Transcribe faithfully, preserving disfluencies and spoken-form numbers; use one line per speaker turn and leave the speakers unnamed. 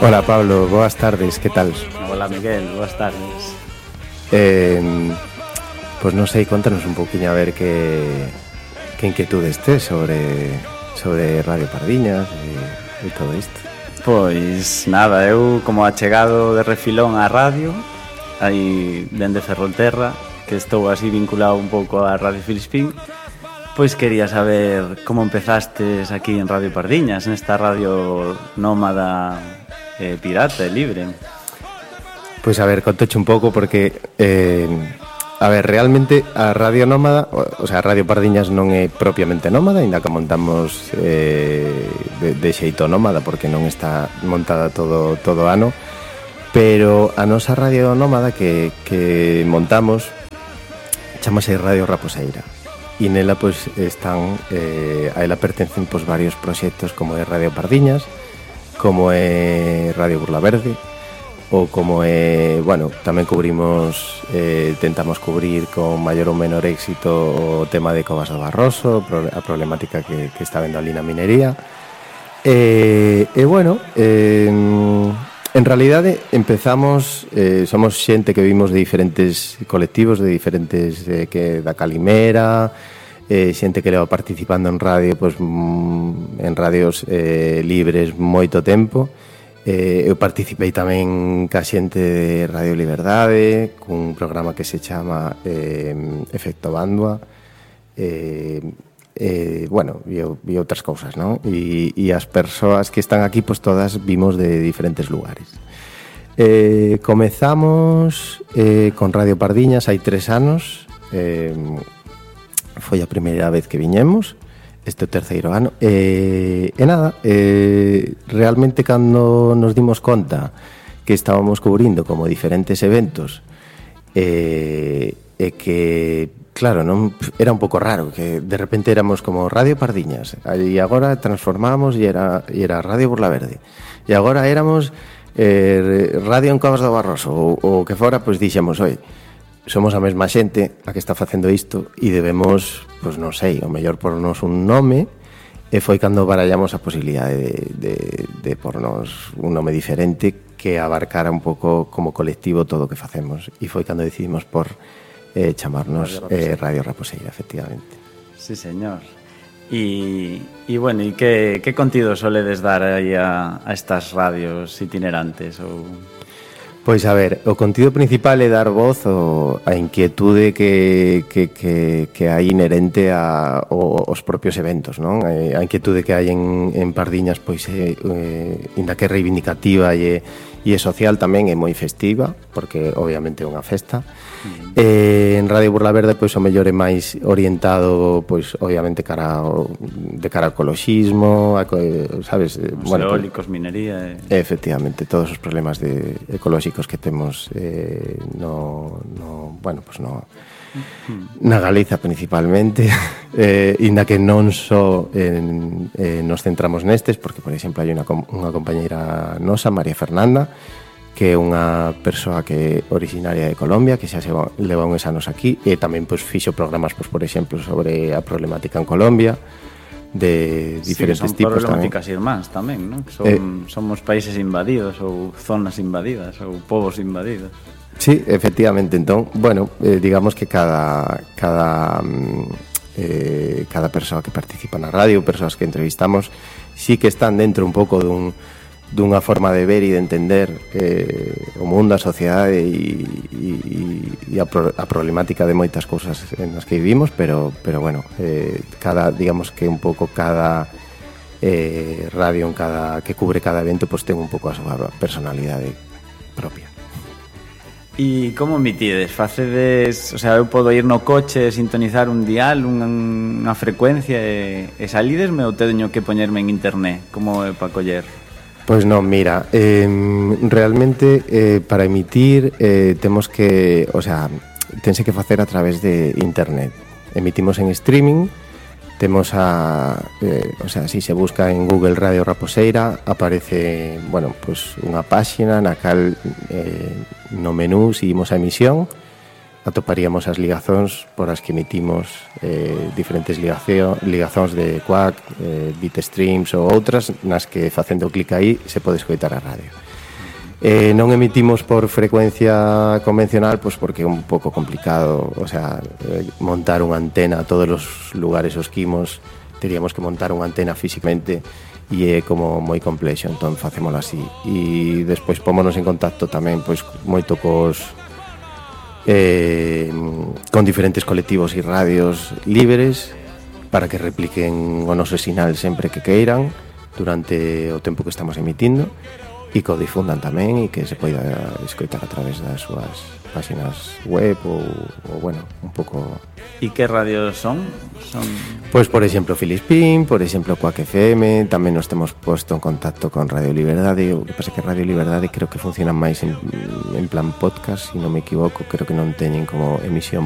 Hola Pablo, boas tardes, que tal?
Hola Miguel, boas tardes.
Eh, pois non sei, contanos un poquinho a ver que, que inquietudes tes sobre, sobre Radio Pardiñas e, e todo isto.
Pois nada, eu como achegado de refilón á radio, aí dende Ferrolterra, que estou así vinculado un pouco a Radio Filispín, pois quería saber como empezastes aquí en Radio Pardiñas, nesta radio nómada, eh, pirata e libre.
Pois a ver, contoche un pouco porque eh, a ver, realmente a Radio Nómada, o sea, a Radio Pardiñas non é propiamente nómada, ainda que montamos eh, de, de xeito nómada porque non está montada todo todo ano, pero a nosa Radio Nómada que, que montamos chamase Radio Raposeira e nela pois están eh, a ela pertencen pois varios proxectos como é Radio Pardiñas, como é Radio Burla Verde, ou como é, bueno, tamén cubrimos, eh, tentamos cubrir con maior ou menor éxito o tema de Covas do Barroso, a problemática que, que está vendo ali na minería. E, e bueno, eh, en realidade empezamos, eh, somos xente que vimos de diferentes colectivos, de diferentes, eh, que da Calimera, eh, xente que leva participando en radio, pues, en radios eh, libres moito tempo. Eh, eu participei tamén ca xente de Radio Liberdade cun programa que se chama eh, Efecto Bandua, eh, eh, bueno, e, e outras cousas, non? E, e as persoas que están aquí, pois todas vimos de diferentes lugares. Eh, comezamos eh, con Radio Pardiñas hai tres anos, eh, foi a primeira vez que viñemos, este terceiro ano, e, e nada, e, realmente cando nos dimos conta que estábamos cubrindo como diferentes eventos e, e que, claro, non era un pouco raro que de repente éramos como Radio Pardiñas e agora transformamos e era, e era Radio Burla Verde e agora éramos eh, Radio en Covas do Barroso ou o que fora, pois dixemos, oi, somos a mesma xente a que está facendo isto e debemos, pois non sei, o mellor pornos un nome, e foi cando barallamos a posibilidade de, de, de pornos un nome diferente que abarcara un pouco como colectivo todo o que facemos, e foi cando decidimos por eh, chamarnos Radio Raposeira, eh, Radio Raposeira, efectivamente.
Sí, señor. E, e bueno, e que, que contido soledes dar aí a, a estas radios itinerantes ou...
Pois a ver, o contido principal é dar voz ao, a inquietude que, que, que, que hai inherente a, o, os propios eventos, non? A inquietude que hai en, en Pardiñas, pois é, eh, inda que é reivindicativa e, e é social tamén, é moi festiva, porque obviamente é unha festa. Mm. Eh, en Radio Burla Verde, pois o mellor é máis orientado, pois obviamente cara ao, de cara ao ecoloxismo, a, sabes?
Os
bueno,
eólicos, pues, minería...
E... Efectivamente, todos os problemas de ecolóxicos que temos eh, no, no, bueno, pues no, na Galiza principalmente, eh, inda que non só en, eh, nos centramos nestes, porque, por exemplo, hai unha, unha compañeira nosa, María Fernanda, que é unha persoa que é originaria de Colombia, que xa se leva uns anos aquí, e tamén pois, fixo programas, pois, por exemplo, sobre a problemática en Colombia, de diferentes
sí,
tipos
tamén. Son problemáticas irmáns tamén, non? Son, eh, somos países invadidos ou zonas invadidas ou povos invadidos.
Sí, efectivamente. Entón, bueno, eh, digamos que cada cada eh, cada persoa que participa na radio, persoas que entrevistamos, sí que están dentro un pouco dun dunha forma de ver e de entender eh, o mundo, a sociedade e, e, e a, pro, a problemática de moitas cousas en as que vivimos, pero, pero bueno, eh, cada, digamos que un pouco cada eh, radio en cada, que cubre cada evento, pues ten un pouco a súa personalidade propia.
E como emitides? Facedes, o sea, eu podo ir no coche, sintonizar un dial, unha, unha frecuencia e, e salidesme ou teño que poñerme en internet? Como é para coller?
Pois non, mira, eh, realmente eh, para emitir eh, temos que, o sea, tense que facer a través de internet. Emitimos en streaming, temos a, eh, o sea, si se busca en Google Radio Raposeira, aparece, bueno, pues unha páxina na cal eh, no menú seguimos a emisión atoparíamos as ligazóns por as que emitimos eh, diferentes ligación, ligazóns de Quack, eh, Bitstreams ou outras nas que facendo clic aí se pode escoitar a radio. Eh, non emitimos por frecuencia convencional pois porque é un pouco complicado, o sea, eh, montar unha antena a todos os lugares os que imos, teríamos que montar unha antena físicamente e é como moi complexo, entón facémolo así. E despois pómonos en contacto tamén pois moito cos Eh, con diferentes colectivos e radios libres para que repliquen o noso sinal sempre que queiran durante o tempo que estamos emitindo e que o difundan tamén e que se poida escoitar a través das súas páxinas web ou, ou bueno, un pouco...
E que radios son? Son...
Pois, por exemplo, Filispín, por exemplo, Quack F M, tamén nos temos posto en contacto con Radio Liberdade, o que pasa que Radio Liberdade creo que funciona máis en, en plan podcast, se non me equivoco, creo que non teñen como emisión